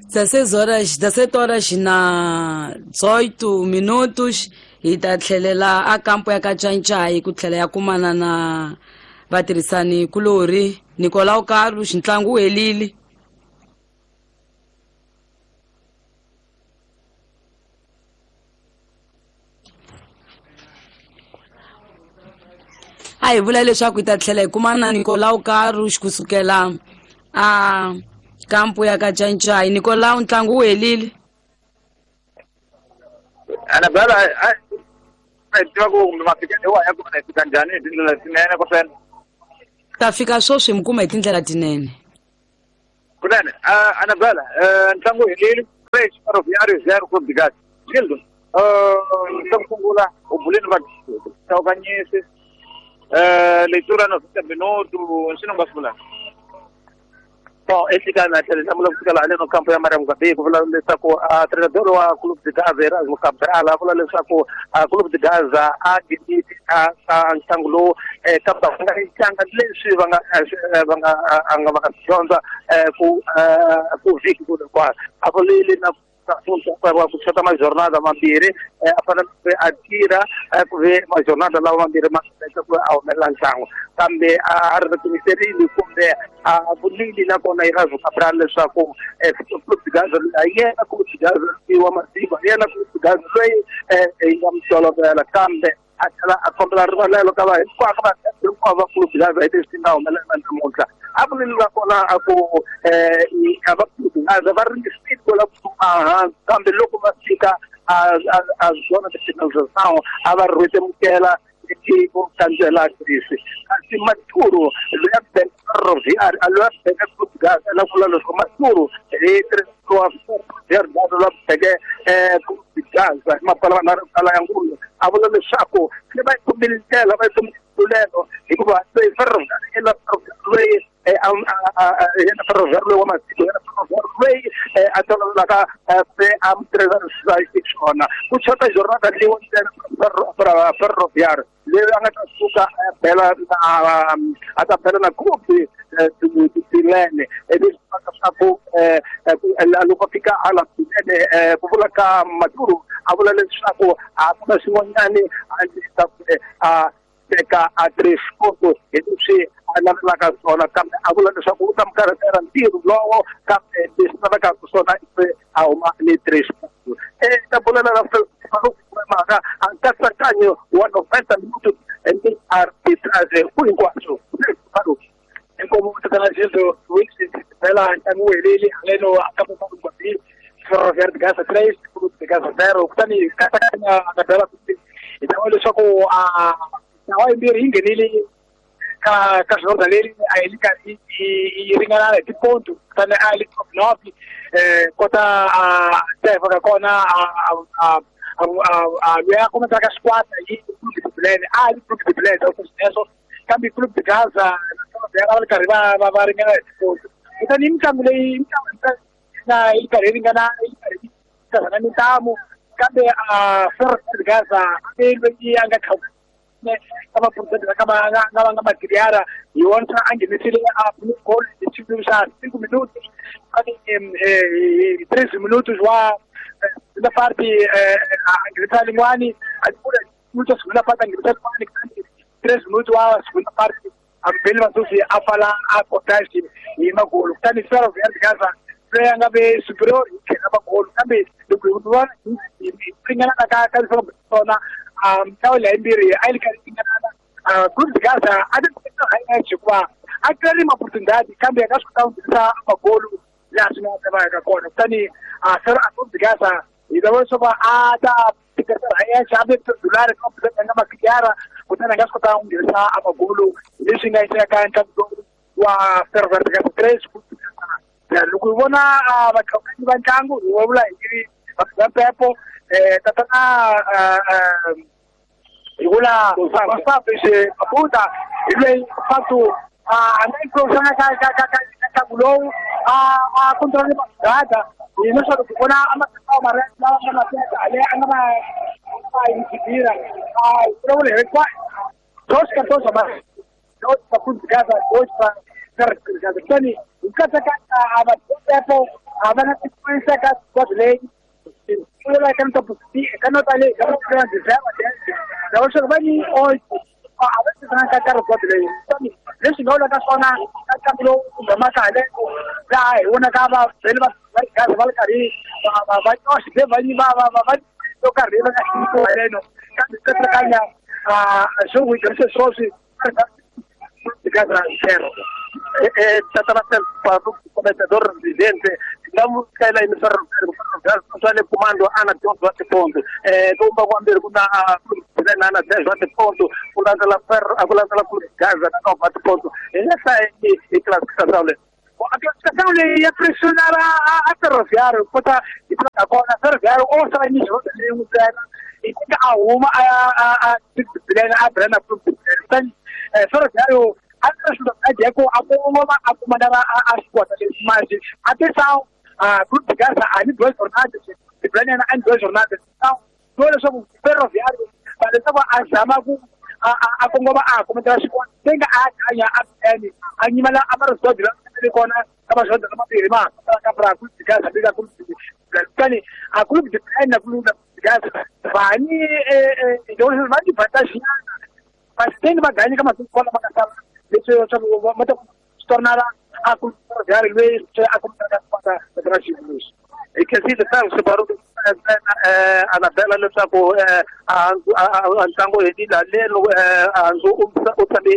16 horas, 17 horas na 18 minutos hi ta tlhelela a kampo ya ka Cancai ku tlhela ya kumana na vatirhisani kulorhi Nicolau Carlos ntlangu wu helile. A hi vula leswaku hi ta tlhela hi kumana na Nicolau Carlos kusukela a kampo ya ka Cancai. Nicolau, ntlangu wu helile. Anabela, a tiva ku kumbe mafikelo wa ya kona hi fika njhani hi tindlela tinene kusena? Ta fika sweswi mi kuma hi tindlela tinene. Kunene, Anabela, ntlangu wu helile. 3 Ferroviário 0 Clube de Gaza. Gildo, xa ku sungula u buleni va tawukanyisi leitura 90 minuto xi nga swi vulaka. Bom, exikarhi tlhela hlamula ku fikela haleno kampo ya Mariam Gabi ku vula leswaku treinador wa Clube de Gaza Erasmo Cabral a vula leswaku Clube de Gaza a nghenile a ntlangu lowu kambe va nga tlanga leswi va nga va nga a nga va nga dyondza ku vhiki ku hinkwayo. A vulile na ku chota majornada mambirhi a fanele a tirha ku ve majornada lawa mambirhi ma ku a humelela ntlangu, kambe a ri timiserile kumbe a vulile nakona Erasmo Cabral leswaku Clube de Gaza a yena Clube de Gaza wa mativa yena Clube de Gaza loyi hi nga mi tolovela, kambe a tlhela a kombela rivalelo ka va hinkwako va hinkwavo va Clube de Gaza hi leswi nga humelela namuntlha. A vulile nakona a ku a va Clube de Gaza va ringesile ku lava ku hansi, kambe loko va fika a zona de finalização a va rhwetemukela vo kandzela Greece. Kasi Maturu loyi a beka Ferroviário loyi a beke Clube de Gaza la vula leswaku Maturu hi wa Ferroviário loyi a beke Clube de Gaza hi mapala manharhu kala ya ngulu a vula leswaku se va yi kumile ndlela va yi kumile ntlulelo hikuva loyi Ferroviário loyi yena Ferroviário loyi wa matiko yena Ferroviário loyi a tolovelaka se a mutirhisa xona ku chota jornada leyi ntsena Ferroviário leyi a nga ta suka a bela na a ta bela na Clube Bilene leswi leswaku loko a fika hala Bilene ku vula ka Maturu a vula leswaku a ku na xin'wanyani a ndzi ta a teka a 3 pontos hi leswi a navelaka swona, kambe a vula leswaku u ta mi karhatela ntirho lowo, kambe leswi lavekaka swona i a huma ni 3 pontos. Ta bulela na mhaka a nkatsakanyo wa 90 minutos ni arbitrage ku hinkwaswo. Inkomo tatana Gildo Wilson phela ntlangu wu helile haleno a ka Gabi Ferroviário de Gaza 3 Clube de Gaza 0. Kutani katsakanya Anabela hi ta vona leswaku a ntlawa yimbirhi yi nghenile ka ka jornada leri a yi karhi yi ringana hi tiponto, kutani a yi top north kota a teva ka kona a loyi a kombetaka xikwata hi Clube de Bilene a yi Clube de Bilene sweswo, kambe Clube de Gaza va ri karhi va ringana hi tiponto. Kutani i mitlangu leyi na yi karhi yi ringana yi karhi yi mintamu, kambe Ferroviário de Gaza a loyi a nga ka vaphurosente va nga nga va nga madiriara hi wona a nghenisile a goal hi xivilo xa 5 minutos kutani hi 3 minutos wa segunda parte a nghenisa lin'wani a minutos segunda parte a nghenisa lin'wani kutani 3 minutos wa segunda parte Abel Masusi a pfala a contagem hi magolo. Kutani Ferroviário de Gaza loyi a nga ve superior hi tlhela magolo, kambe loko hi vona hi ringana ka ka swona mitlawa leyi yimbirhi a yi ri karhi ringanana. Clube de Gaza a ti teka hikuva a tirhi ma-opportunidade kambe a nga swi kota ku nghenisa magolo laha swi nga ta va ka kona. Kutani Clube de Gaza hi ta vona leswaku a ta tiketela yexe a ve dolari ka nga makiyara, kutani a nga swi kota ku nghenisa amagolo leswi nga yiseka ka ntlangu lowu wa Ferroviário de Gaza 3. Loko hi vona vatlhokanyi va ntlangu hi vula hi va Pepo tatana hi vula Gonçalves Mabuta hi loyi Fatu a nga influensanga ka ka ka ntlangu lowu a control magada hi leswaku hi vona a matsawa mara lawa nga ma teka ale a nga ma inhibira a vulavula hi kwa 2 14 ma 2 pa Clube de Gaza 2 pa Ferroviário de Gaza. Kutani hi katsakanya a va Pepo A va na influence ka squad leyi pfulela ka nota ka nota leyi ka nota lava leswaku va ni oito a va tirhisana ka ka squad leyi leswi nga vulaka swona ka ntlangu lowu humaka haleno laha hi vonaka va vhele va ri va ri karhi va nyoxe va va va yo karhi va nga xiyimo haleno kambe katsakanya swo wi sweswi zero. Tata comentador presidente nga mukela swa le comando ana 12 wa tiponto kumba kwambirhi ku na ana 10 wa tiponto ku landzela ferro ku landzela ku Gaza na 9 wa tiponto hi nga hlaya hi classification leyi. A classificação leyi ya pressionar a Ferroviário kota hi ka kona Ferroviário o sala ni xivandla leyin'we ntsena hi tika a huma a a a brand a kutani Ferroviário a ri swilo a Diego a kongoma a kuma na a xikota lexi manje atenção a Clube de Gaza a ni duas jornadas de Brandon a ni duas jornadas então to leswaku Ferroviário va leswaku a zama ku a kongoma a kometela xikota tenga a hanya a eni a nyimela a marisodi la le kona ka maxoda lamambirhi ma ka bra Clube de Gaza le ka Clube de kutani a Clube de na Clube de Gaza va ni va ni vantage nyana mas va ganyi ka masiku lama nga sala leswi leswaku va ta swi tornara a ku Ferroviário loyi a kometela ka xikota ra xiyimo lexi. Hi khensile Carlos Baruti Anabela leswaku ntlangu helile haleno handzu u tshame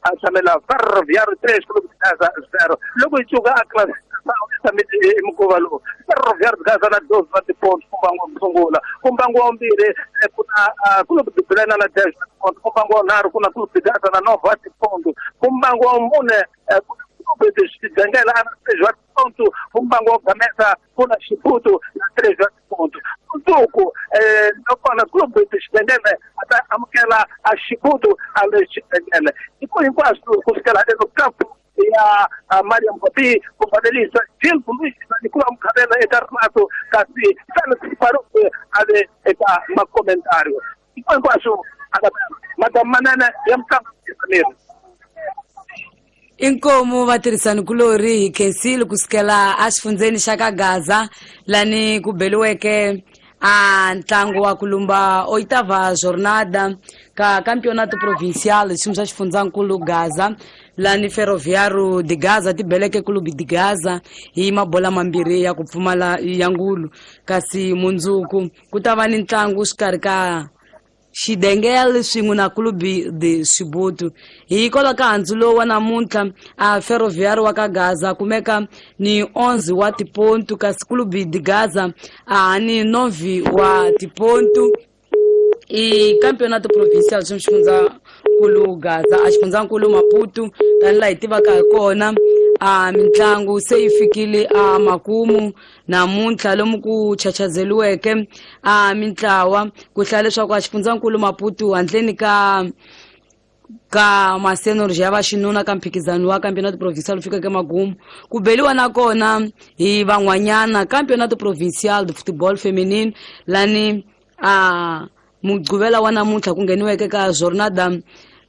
a tshamela Ferroviário 3 Clube de Gaza 0 loko hi cuka a classification i mukhuva lowu Ferroviário de Gaza na 12 wa tiponto ku mbangu wa sungula ku mbangu wa vumbirhi ku na Clube de Belena na 10 wa tiponto ku mbangu wa vunharhu ku na Clube de Gaza na 9 wa tiponto ku mbangu wa mune ku na Clube de Xidengela na 3 wa tiponto ku mbangu wa Gamesa ku na Xiputu na 3 wa tiponto mundzuku nakona Clube de Xidengele a ta amukela a Xiputu a le Xidengele hiko hinkwaswo ku fikela leno kampo ya Mariam Gobi ku fanelisa Gil Luis na Nicola Mkhabela eka rinato kasi Felix Faruque a le eka makomentario hiko hinkwaswo madam manene ya mutlangi Samir. Inkomu vatirhisani kulori hi khensile kusukela exifundzeni xa ka Gaza lani ku beliweke a ntlangu wa kulumba oitava jornada ka campeonato provincial xiyimo xa xifundzankulu Gaza lani Ferroviário de Gaza ti beleke Clube de Gaza hi mabola mambirhi ya ku pfumala ya ngulu kasi mundzuku ku ta va ni ntlangu xikarhi ka Xidengel swin'we na Clube de Xibutu. Hikwalaho ka handzu lowu wa namuntlha a Ferroviário wa ka Gaza kumeka ni 11 wa tipontu kasi Clube de Gaza a ni 9 wa tipontu. I campeonato provincial xa xifundzankulu Gaza a xifundzankulu Maputo tanihi laha hi tivaka hi kona a mitlangu se yi fikile a makumu namuntlha lomu ku chachazeliweke a mintlawa ku hlaya leswaku a xifundzankulu Maputo handleni ka masenorji ya vaxinuna ka mphikizano wa campeonato provincial wu fikeke magumu ku beliwa nakona hi van'wanyana campeonato provincial de football feminine lani a mugqivela wa namuntlha ku ngheniweke ka jornada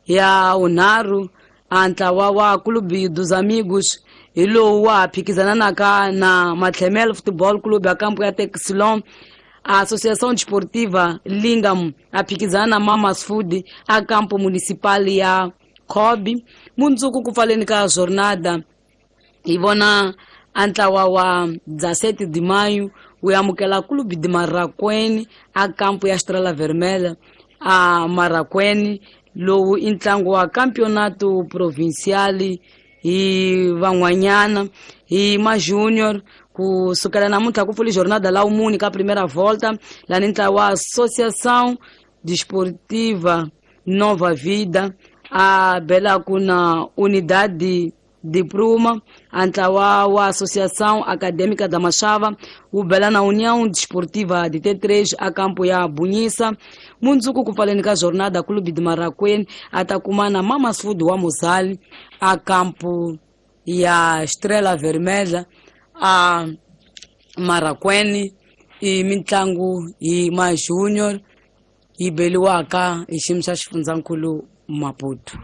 ya vunharhu a ntlawa wa Clube dos Amigos hi lowu wa phikizananaka na Matlhemel Football Club ya kampo ya Texilon. A Associação Desportiva Lingam a phikizana na Mamas Food a campo municipal ya Kobe. Mundzuku ku pfaleni ka jornada hi vona a ntlawa wa 17 de maio wu amukela Clube de Marraquene a campo ya Estrela Vermelha a Marraquene lowu i ntlangu wa campeonato provincial hi van'wanyana hi ma junior ku sukela namuntlha ku pfuli jornada la umuni ka primeira volta lani ntlawa wa Associação Desportiva Nova Vida a belaku na Unidade de Pruma a ntlawa wa Associação Acadêmica da Machava wu bela na União Desportiva de T3 a campo ya Bunhisa. Mundzuku ku pfaleni ka jornada Clube de Marraquene a ta kuma na Mamas Food wa Mozali a campo ya Estrela Vermelha a Marraquene. I mitlangu hi ma junior yi beliwaka hi xiyimo xa xifundzankulu Maputo.